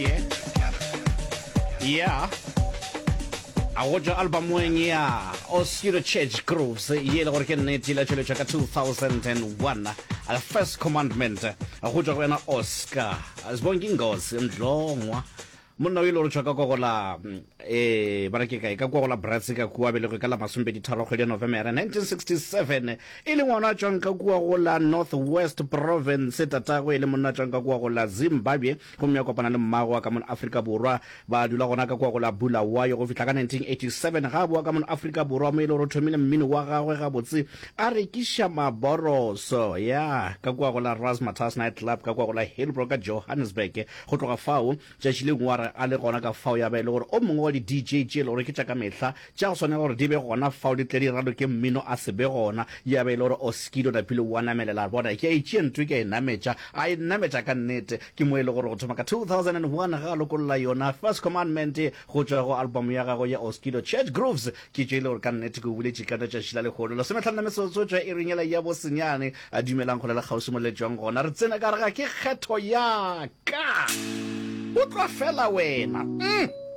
Yeah. Yeah. A go tšwa albumeng ya Oscuro Church Grooves ye e le gore ke nnete ile tšweletšwa ka 2001 The First Commandment go tšwa go yena Oscar Sibonginkosi Mdlongwa monna o ile gore tšwa ka kwa go la eh ba re ke kae ka kwa go la Brats ka kua belegwe ka la masomepeditharo kgwedi ya Novemere 1967 e le ngwana a tšwang ka kua go la North West Province tatagwe e le monna a tšwang ka kua go la Zimbabwe Gomme a kopana le mmagwe wa ka mono Afrika Borwa. Ba dula gona ka kua go la Bulawayo go fihla ka 1987 ga a boa ka mono Afrika Borwa mo e le gore o thomile mmino wa gagwe gabotse a rekiša maboroso ya ka kua go la Razzmatazz Night Club ka kua go la Hillbrow ka Johannesburg. Go tloga fao tšatši le nngwe a re a le gona ka fao ya ba e le gore o mongwe wa di-DJ tše e le gore ke tša ka mehla Tša go swanela gore di be gona fao di tle di raloke mmino a se be gona. Ya be e le gore Oskido napile o a namelela a bona ke a e tšea ntwe ke a e nametša. A e nametša ka nnete. Ke mo e le gore go thoma ka 2001 ge a lokolla yona First Commandment go tšwa go album ya gagwe ya Oskido Church Grooves. Ke tše e le gore ka nnete ke o boletše ka letšatši la lehono. Lesomehlano la metsotso tšwa iring yela ya bosenyane. A dumelang kgole le kgauswi mo le tšwang gona. Re tsene ka gare ga ke kgetho ya ka. Utlwa fela wena. Mm.